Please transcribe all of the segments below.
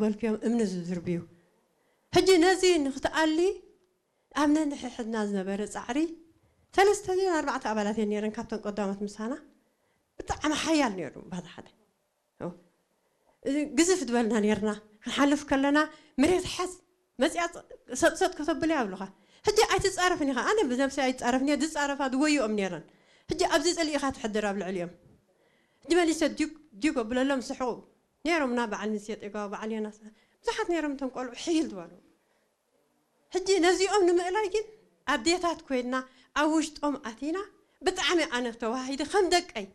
በልክዮም እምኒ ዝድርብዩ። ሕጂ ነዚ ንክትኣሊ ኣብ ነንሕሕድና ዝነበረ ጻዕሪ፣ ሰለስተ ድዮን ኣርባዕተ ኣባላት እየን ነይረን ካብተን ቀዳሞት ምሳና። ብጣዕሚ ሓያል ነይሩ ባታ ሓደ። ኦ፣ እዚ ግዝፍ ዝበልና ነይርና። ክንሓልፍ ከለና መሬት ሓዝ መጽያ፣ ሰጥ ሰጥ ከተብለ ኣብሉኻ። ሕጂ ኣይትጻረፍን ኢኻ። ኣነ ብነብሰይ ኣይጻረፍን እየ። ዝጻረፋ ዝጎይኦም ነይረን። ሕጂ ኣብዚ ጽልኢኻ ትሕድር ኣብ ልዕሊኦም። ሕጂ መሊሰ ዲግ ዲግ ኣብለሎም፣ ስሕቑ ነይሮምና። በዓል ምሴ ጤጋው፣ በዓል ዮናስ፣ ብዙሓት ነይሮም እቶም ቆልዑ ሕይል ዝበሉ። ሕጂ ነዚኦም ንምእላይ ግን ኣዴታት ኮይንና ኣብ ውሽጦም ኣቲና፣ ብጣዕሚ ኣነ ተዋሂደ ከም ደቀይ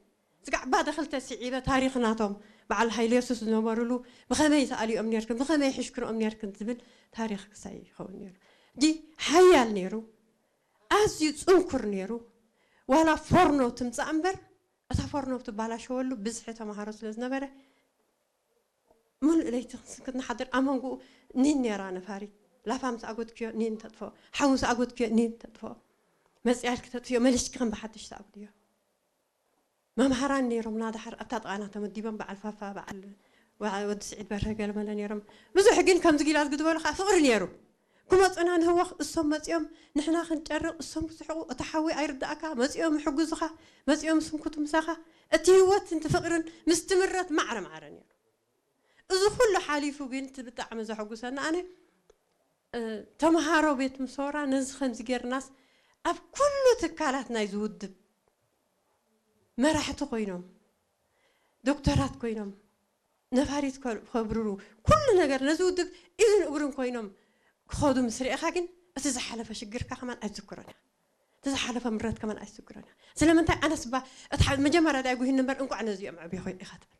ስጋዕ ባደ ክልተ ስዒበ ታሪኽ ናቶም በዓል ሃይለ የሱስ ዝነበሩሉ ብኸመይ ተኣሊኦም ነርክን፣ ብኸመይ ሕሽክርኦም ነርክን ዝብል ታሪኽ ክሳይ ይኸውን ነይሩ። ሕጂ ሓያል ነይሩ፣ ኣዝዩ ጽንኩር ነይሩ። ዋላ ፎርኖ ትምጻእ እምበር እታ ፎርኖ ትባላሸወሉ ብዝሒ ተማሃሮ ስለ ዝነበረ፣ ምሉእ ለይቲ ክንስክት ንሓድር። ኣብ መንጎኡ ኒን ነይራ ነፋሪት። ላፋ ምስ ኣጎድክዮ ኒን ተጥፍኦ፣ ሓዊ ምስ ኣጎድክዮ ኒን ተጥፍኦ። መጽያልኪ ተጥፍዮ፣ መሊስኪ ከም ብሓድሽ ተኣጉድዮ። መምሃራን ነይሮምና፣ ድሓር ኣብታ ጥቓና ተመዲቦም፣ በዓል ፋፋ፣ በዓል ወ-፣ ወዲ ስዒድ በርሀ፣ ገለመለ ነይሮም። ብዙሕ ግን ከምዚ ጊላዝ ግድበሉ ከዓ ፍቕሪ ነይሩ። ክመጹና ንህወኽ፣ እሶም መጺኦም ንሕና ክንጨርቕ፣ እሶም ክስሕቑ፣ እቲ ሓዊ ኣይርዳእካ፣ መጺኦም ይሕግዙኻ፣ መጺኦም ስንኩቱ ምሳኻ። እቲ ህይወት፣ እቲ ፍቕርን ምስ ትምረት ማዕረ ማዕረ ነይሩ። እዚ ኩሉ ሓሊፉ ግን እቲ ብጣዕሚ ዘሐጉሰና ኣነ፣ እ፣ ተምሃሮ ቤት ምሶራ ነዚ ከምዚ ጌርናስ ኣብ ኩሉ ትካላት ናይዚ ውድብ መራሕቲ ኮይኖም፣ ዶክተራት ኮይኖም፣ ነፋሪት ከ-፣ ከብርሩ፣ ኩሉ ነገር ነዚ ውድብ ኢድን እግርን ኮይኖም ክኸዱ ምስ ርኤኻ ግን እቲ ዝሓለፈ ሽግርካ ከማን ኣይትዝክሮን ኢኻ። እቲ ዝሓለፈ ምረት ከማን ኣይትዝክሮን ኢኻ። ስለምንታይ? ኣነስ እባ እቲ ሓ-፣ መጀመርያ ዳይ ጉሂኒ እምበር እንቋዕ ነዚኦም ዕብየኹ ኢኻ ትብል።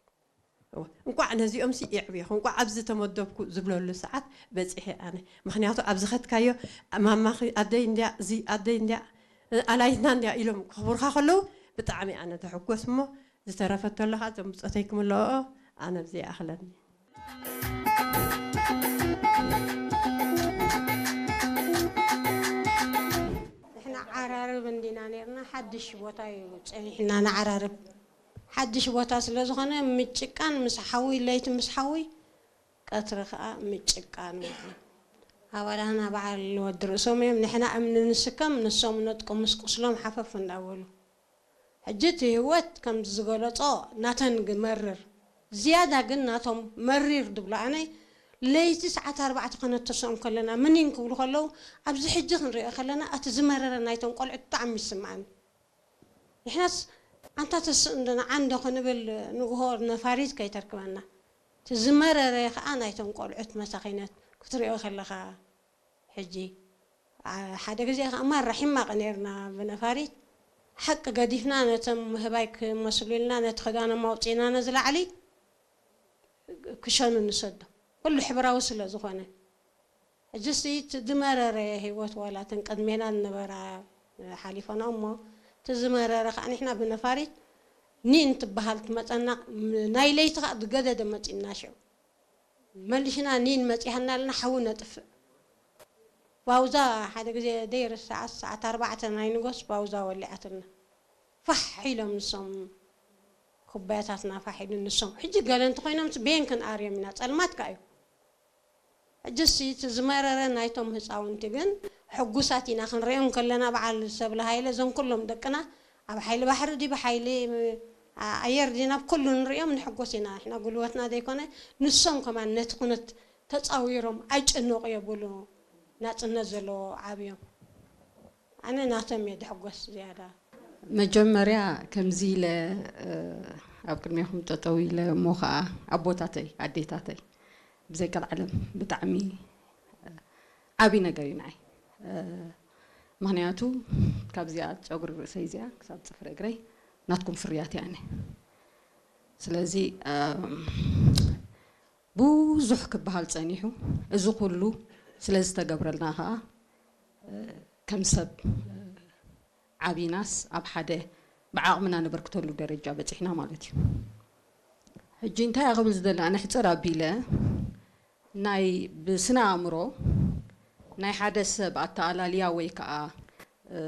እወ፣ እንቋዕ ነዚኦም ሲ የዕብየኹ፣ እንቋዕ ኣብዚ ተመደብኩ ዝብለሉ ሰዓት በጺሐ ኣነ። ምኽንያቱ ኣብ ዝኸድካዮ ማማኺ ኣደይ እንድያ፣ እዚ ኣደይ እንድያ፣ ኣላይትና እንድያ ኢሎም ከኽብሩኻ ከለዉ ብጣዕሚ ኣነ ተሕጎስ እሞ፣ ዝተረፈ እንተሎ ኸዓ እዞም ብጾተይ ክምልኦ ኣነ ኣብዚ ይኣኽለኒ። ንሕና ዓራርብ እንዲና ነይርና፣ ሓድሽ ቦታ እዩ ጸኒሕና ንዓራርብ። ሓድሽ ቦታ ስለ ዝኾነ ምጭቃን ምስ ሓዊ፣ ለይቲ ምስ ሓዊ፣ ቀትሪ ኸዓ ምጭቃን ውዕል። ኣባላትና በዓል ወዲ ርእሶም እዮም፣ ንሕና እምኒ ንስከም፣ ንሶም ነጥቆ ምስ ቁስሎም ሓፈፍ እንዳበሉ። ሕጂ እቲ ህይወት ከም ዝገለጾ ናተን ግ-፣ መርር፣ ዝያዳ ግን ናቶም መሪር ድብሎ ኣነ፣ ለይቲ ሰዓት ኣርባዕተ ከነተስኦም ከለና፣ ምኒን ክብሉ ከለዉ፣ ኣብዚ ሕጂ ክንሪኦ ከለና፣ እቲ ዝመረረ ናይቶም ቆልዑት ብጣዕሚ ይስምዓኒ። ንሕናስ ኣንታ ተስእ እንዶ ንዓ እንዶ ክንብል ንግሆ ነፋሪት ከይተርክበና። እቲ ዝመረረ ኸኣ ናይቶም ቆልዑት መሳኺነት ክትሪኦ ከለኻ ሕጂ፣ ኣ-፣ ሓደ ግዜ ኸኣ ማራ ሒማቕ ነይርና ብነፋሪት። ሓቂ ገዲፍና ነቶም ህባይ ክመስሉ ኢልና ነቲ ክዳኖም ኣውጺእና ነዚ ላዕሊ ክሸኑ ንሰዶ። ኩሉ ሕብራዊ ስለ ዝኾነ። ሕጂስ እቲ ዝመረረ ህይወት ዋላ እተን ቅድሜና ዝነበራ ሓሊፈና እሞ፣ እቲ ዝመረረ ኸኣ ንሕና ብነፋሪት ኒን ትበሃል ትመጸና፣ ም-፣ ናይ ለይቲ ኸኣ ዝገደደ መጺና ሽዑ። መሊሽና ኒን መጺሃና ኣለና ሓዊ ነጥፍእ። ባውዛ ሓደ ግዜ ደይርሳዓስ ሰዓት ኣርባዕተ ናይ ንጎስ ባውዛ ወሊዓትና። ፋሕ ኢሎም ንሶም ኩባያታትና ፋሕ ኢሉ ንሶም። ሕጂ ገለ እንተኾይኖምስ ቤን ክንኣርዮም ኢና፣ ጸልማት ከኣ እዩ። ሕጂስ እቲ ዝመረረ ናይቶም ህጻውንቲ ግን ሕጉሳት ኢና ክንሪኦም ከለና፣ በዓል ሰብለ ሃይለ፣ እዞም ኩሎም ደቅና ኣብ ሓይሊ ባሕሪ ድዩ፣ ብሓይሊ፣ እ፣ ኣየር ድዩ፣ ናብ ኩሉ ንሪኦም ንሕጎስ ኢና። ንሕና ጉልበትና ዘይኮነ፣ ንሶም ከማን ነቲ ኩነት ተጻዊሮም ኣይጨነቑ የብሉ። ናጽነት ዘለዎ ዓብዮም። ኣነ ናቶም እየ ድሕጎስ ዝያዳ። መጀመርያ ከምዚ ኢለ፣ እ፣ ኣብ ቅድሜኹም ጠጠው ኢለ እሞ ኸዓ ኣቦታተይ፣ ኣዴታተይ፣ ብዘይ ቀልዓለም ብጣዕሚ፣ እ፣ ዓብዪ ነገር እዩ ንዓይ። እ፣ ምኽንያቱ ካብዚኣ ጨጉሪ ርእሰይ እዚኣ ክሳብ ጽፍሪ እግረይ ናትኩም ፍርያት እያ ኣነ። ስለዚ፣ እ፣ ብዙሕ ክበሃል ጸኒሑ፣ እዚ ኩሉ ስለ ዝተገብረልና ኸኣ፣ እ፣ ከም ሰብ፣ እ፣ ዓቢናስ ኣብ ሓደ ብዓቕምና ነበርክተሉ ደረጃ በጺሕና ማለት እዩ። ሕጂ እንታይ እያ ክብል ዝደሊ፣ ኣነ ሕጽር ኣቢለ ናይ ብስነ ኣእምሮ ናይ ሓደ ሰብ ኣተኣላልያ ወይ ከኣ፣ እ፣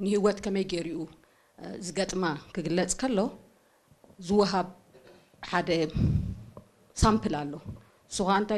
ንህይወት ከመይ ገይሩ እዩ፣ እ፣ ዝገጥማ ክግለጽ ከሎ ዝወሃብ ሓደ ሳምፕል ኣሎ። ንሱ ኸኣ እንታይ